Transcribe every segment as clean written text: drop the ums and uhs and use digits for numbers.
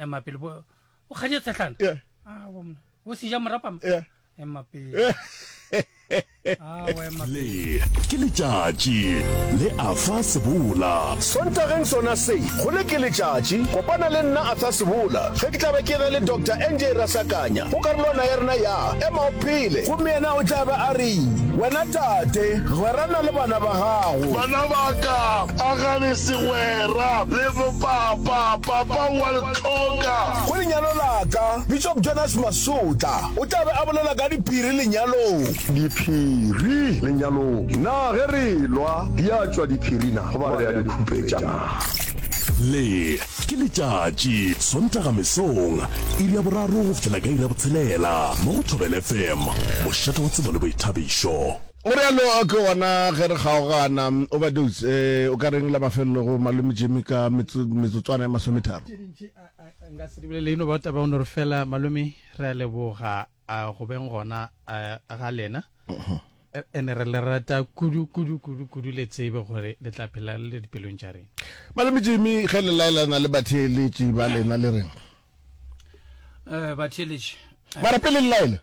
Ema pele bo o kgadie tshehlana. Yeah. Ah, bo mna. O seja morapama. Yeah. Ema pele. Ah, wa ema pele. Le ke letšatši le Arthur Sebola. Sontageng sona se, go le ke letšatši, kopana le nna Arthur Sebola ge ke tla be ke ena le Doctor NJ Rasakanya go karolwana ya rena ya Ema o Phele. Gomme yena o tla be a re, Wena tate, gwerana le bana ba gago. Bana ba ka, agane segwera le bopapa, papa o a le hloka. Go lenyalo la ka, Bishop Jonas Masotla o tla be a bolela ka diphiri lenyalong. Diphiri lenyalong, na ge re elwa di a tšwa diphiri na goba re a di khupetša na? Le ke letšatši, Sontaga mesong, iri ya boraro go fihlela ka iri ya botshelela, mo go Thobela FM, mošate wa tsebo le boithabišo. O realo ke gona ge re kgaogana. Overdose, eh, o ka reng la mafelelo go Malome Jimmy ka metsotswana ya masometharo? Tše dintši nka se di bolele, e no ba taba ya go no re fela Malome re a leboga go beng gona ga lena. Ene re le rata kudu kudu kudu kudu le tsebe gore le tla phela le le dipelong tša rena. Malome Jimmy ge le laelana le batheeletši ba lena le reng? Eh, batheeletši. Mara pele le laela,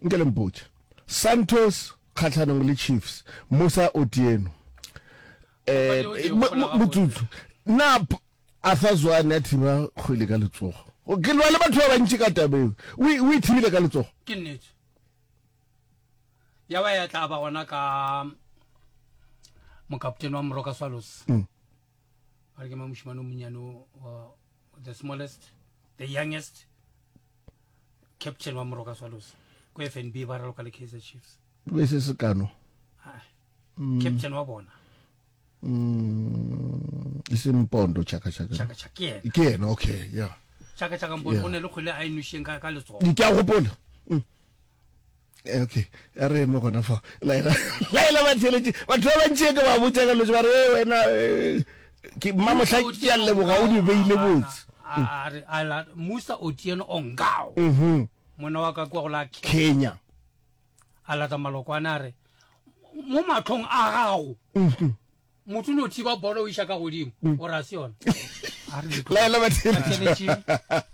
nke le mpotše. Santos kgahlanong le Chiefs, Musa Otieno. Eh, motsotso. Na Arthur Zwane a thiba kgwele ka letsogo? Ke lwa le batho ba bantši ka taba eo. O e thibile ka letsogo? Ke nnete. Ya ba ya tla ba gona ka mokaptene wa Moroka Swallows. Mm. Ba re ke mang mošemane o monnyane wa the smallest, the youngest captain wa Moroka Swallows. Ko FNB ba raloka le Kaizer Chiefs. Be se sekano. Ah, mm. Captain wa bona. Mm, e se Mpondo Chaka Chaka. Chaka Chaka ke yena. Ke yena, okay, yeah. Chaka Chaka Mpondo o ne le kgwele a e nwešeng ka ka letsogo. Ke a gopola. Mm. Eh, okay, a re eme gona fa. Laela laela batheeletši. Batho ba bantši ke ba botša ka lotse ba re eh, wena eh, ke mmamohla ke a leboga o di beile botse. A re a la Musa Otieno Ongao. Mhm. Monna wa ka kwa go la Kenya. A lata malokwane a re mo mahlong a gago. Mhm. Motho no thiba bolo o iša ka godimo mm. o ra se yona. A re Laela batheeletši.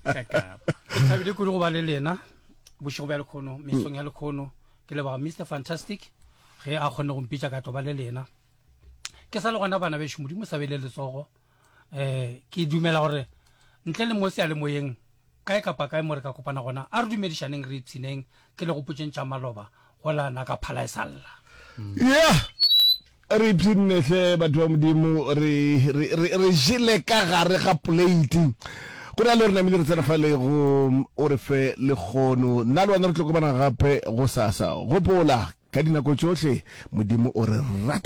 Ke thabile kudu go ba le lena bošego bja lekhono mesong ya lekhono ke leboga Mr Fantastic ge a kgonne go mpitša ka tlo ba le lena ke sa le gona bana bešo modimo sa bele letsogo um ke dumela gore ntle le mo seyalemoyeng kae kapa kae mo re ka kopana gona a re dumedišaneng re ipshineng ke le gopotšeng tša maloba go la naka phala e sa lla Yeah. Re ipshinne hle batho ba Modimo re re re re jele ka gare ga plate. Go na le re namile re tsena fa le go o re fe lekgono. Nna le wena re tlo kopana gape go sasa. Gopola ka dinako tšohle Modimo o re rata.